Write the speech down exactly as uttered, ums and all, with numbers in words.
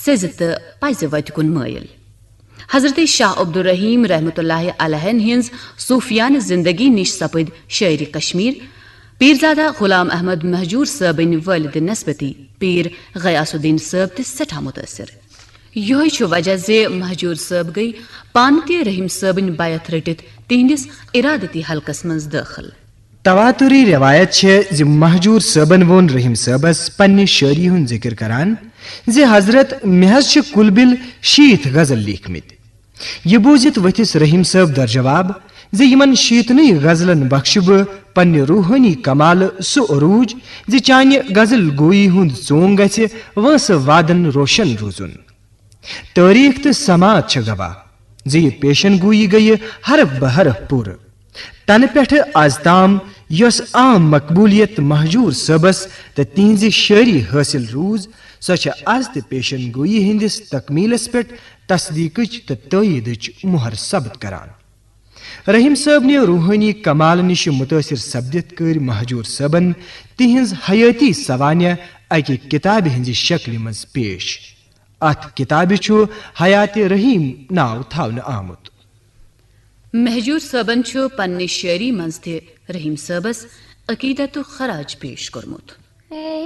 سیٚزِ تہٕ پزِ وتہِ کُن مٲیِل۔ حضرت شاہ عبدالرحیم رحمتہ اللہ علیہ ہٕنٛز صوفیانہٕ زندگی نِش سپٕدۍ شٲعرِ کشمیر، پیرزادہ غلام احمد مہجور صٲبٕنۍ والدِ نسبتی پیر غیاث الدین صٲب تہِ سٮ۪ٹھاہ مُتٲثِر۔ یِہوٚے چھُ وجہ زِ مہجور صٲب گٔیہِ پانہٕ تہِ رحیم صٲبٕنۍ بیعت رٔٹِتھ تِہنٛدِس ارادتی حلقس منٛز دٲخل۔ تواتری روایت چھےٚ زِ مہجور صٲبن ووٚن رحیم صٲبس پننہِ شٲعری ہُنٛد ذکر کران زِ حضرت، مےٚ حظ چھِ کُل بِل شیٖتھ غزل لیٖکھمٕتۍ۔ یہِ بوٗزِتھ ؤتھِس رحیم صٲب در جواب زِ یِمن شیٖتنٕے غزلن بخشہٕ بہٕ پننہِ روحٲنی کمالہٕ سُہ عروٗج زِ چانہِ غزل گویی ہُنٛد ژونگ گژھِ وٲنٛسہٕ وادن روشن روزُن۔ تٲریخ تہٕ سماعت چھےٚ گواہ زِ یہِ پیشن گویی گٔیہِ حرف بہ حرف پوٗرٕ۔ تنہٕ پٮ۪ٹھٕ از تام یۄس عام مقبولیت مہجور صٲبس تہٕ تِہنزِ شٲعری حٲصِل روٗز، سۄ چھےٚ از تہِ پیشن گویی ہٕنٛدِس تکمیلس پٮ۪ٹھ تصدیقٕچ تہٕ تٲییدٕچ مۄہر ثبت کران۔ رحیم صٲبنہِ روحٲنی کمال نِش مُتٲثِر سپدِتھ کٔرۍ مہجور صٲبن تِہنز حیٲتی سوانح اکہِ کتابہِ ہٕنزِ شکلہِ منز پیش۔ اتھ کتابہِ چھُ حیات رحیم ناو تھاونہٕ آمُت۔ مہجور صٲبن چھُ پننہِ شٲعری منز تہِ رحیم صٲبس عقیدت و خراج پیش کوٚرمُت۔